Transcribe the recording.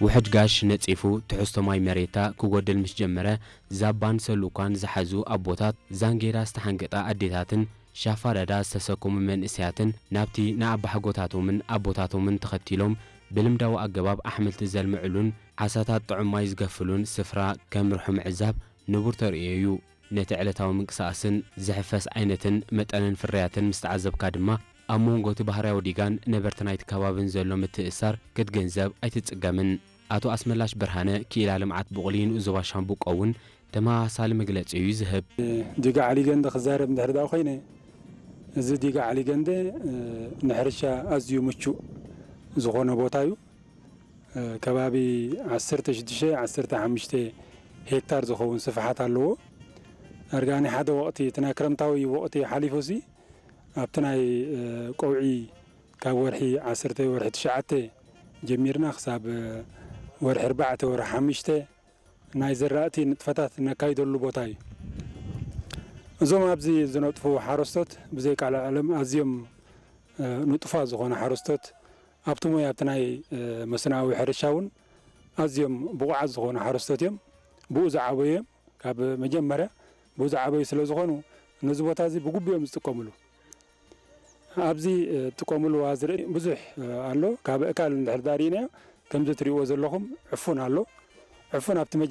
ውሕጅ ጋሽ ነጺፉ ትሕዝቶ ማይ መሬታ ክጎድል ምስ ጀመረ፣ ዛባን ሰሉኳን ዝሓዙ ኣቦታት፣ ዛንጌዳ ዝተሓንገጣ ኣዴታትን ሻፋዳዳ ዝተሰከሙ መንእሰያትን ናብቲ ንኣባሓጎታቶምን ኣቦታቶምን ተኸቲሎም ብልምዳዊ ኣገባብ ኣሕምልቲ ዘልምዕሉን ዓሳታት ጥዑም ማይ ዝገፍሉን ስፍራ ከምርሑ ምዕዛብ ንቡር ተርእዮ እዩ። ነቲ ዕለታዊ ምንቅስቓስን ዝሕፈስ ዓይነትን መጠንን ፍርያትን ምስ ተዓዘብካ ድማ፣ ኣብ መንጎ እቲ ባህርያዊ ዲጋን ነበርቲ ናይቲ ከባብን ዘሎ ምትእስሳር ክትግንዘብ ኣይትጽገምን። ኣቶ ኣስመላሽ ብርሃነ፣ ክኢላ ልምዓት ቡቕሊ ንኡስ ዞባ ሻምብቆ እውን ተመሳሳሊ መግለጺ እዩ ዝህብ። ዲጋ ዓሊገንደ ክዛረብ እንድሕር ደኣ ኮይነ፣ እዚ ዲጋ ዓሊገንደ፣ እ፣ ንሕርሻ ኣዝዩ ምቹእ ዝኾነ ቦታ እዩ። እ፣ ከባቢ ዓሰርተ ሽዱሽተ፣ ዓሰርተ ሓሙሽተ ሄክታር ዝኸውን ስፍሓት ኣለዎ። ኣርጋኒ ሓደ ወቕቲ፣ እቲ ናይ ክረምታዊ ወቕቲ ሓሊፉሲ፣ ኣብቲ ናይ፣ እ፣ ቀውዒ ካብ ወርሒ ዓሰርተ፣ ወርሒ ትሽዓተ ጀሚርና ክሳብ፣ እ፣ ወርሒ ኣርባዕተ፣ ወርሒ ሓሙሽተ ናይ ዘራእቲ ንጥፈታት ነካይደሉ ቦታ እዩ። እዞም ኣብዚ ዝነጥፉ ሓረስቶት ብዘይ ቃል ዓለም ኣዝዮም፣ እ፣ ንጡፋት ዝኾኑ ሓረስቶት፣ ኣብቲ ሞያ፣ ኣብቲ ናይ፣ እ፣ መስኖኣዊ ሕርሻ እውን ኣዝዮም ብቑዓት ዝኾኑ ሓረስቶት እዮም። ብኡ ዝዓበዩ እዮም። ካብ መጀመርያ ብኡ ዝዓበዩ ስለ ዝኾኑ፣ ነዚ ቦታ እዚ ብግቡእ እዮም ዝጥቀምሉ። ኣብዚ፣ እ፣ ትጥቀምሉ ኣዝርእቲ ብዙሕ፣ እ፣ ኣሎ። ካብ እካል እንድሕር ዳኣ ርኢናዮ፣ ከምዚ ትርእይዎ ዘለኹም ዕፉን ኣሎ። ዕፉን ኣብቲ መጀመርያ